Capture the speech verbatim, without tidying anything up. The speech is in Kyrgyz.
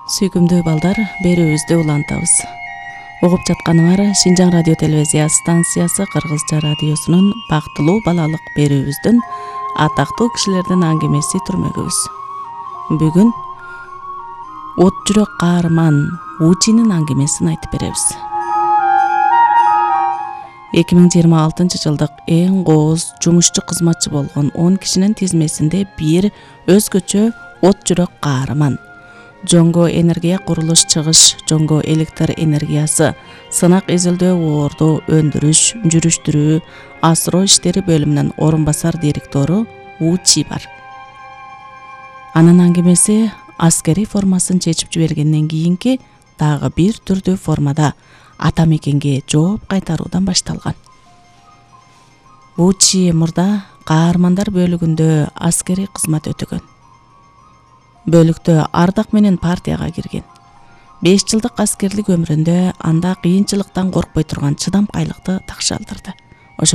Сүйкүмдүү балдар, берүүбүздү улантабыз. Угуп жатканыңар Шинжаң радио телевизия станциясы Кыргызча радиосунун бактылуу балалык берүүбүздүн атактуу кишилердин аңгемеси түрмөгүбүз. Бүгүн От жүрөк каарман Учинин аңгемесин айтып беребиз. эки миң жыйырма алтынчы жылдык эң кооз жумушчу кызматчы болгон он кишинин тизмесинде бир өзгөчө от жүрөк каарман. Жоңго энергия курулуш чыгыш, жоңго электр энергиясы, сынак изилдөө, оорду өндүрүш, жүрүштүрүү, асыроо иштери бөлүмүнүн орун басар директору Учи бар. Анын аңгемеси аскери формасын чечип жибергенден кийинки дагы бир түрдүү формада ата мекенге жооп кайтаруудан башталган. Учи мурда каармандар бөлүгүндө аскери кызмат өтөгөн. Бөлүктө ардак менен партияга кирген. беш жылдык аскерлик өмүрүндө анда кыйынчылыктан коркпой турган чыдамкайлыкты такшалдырды.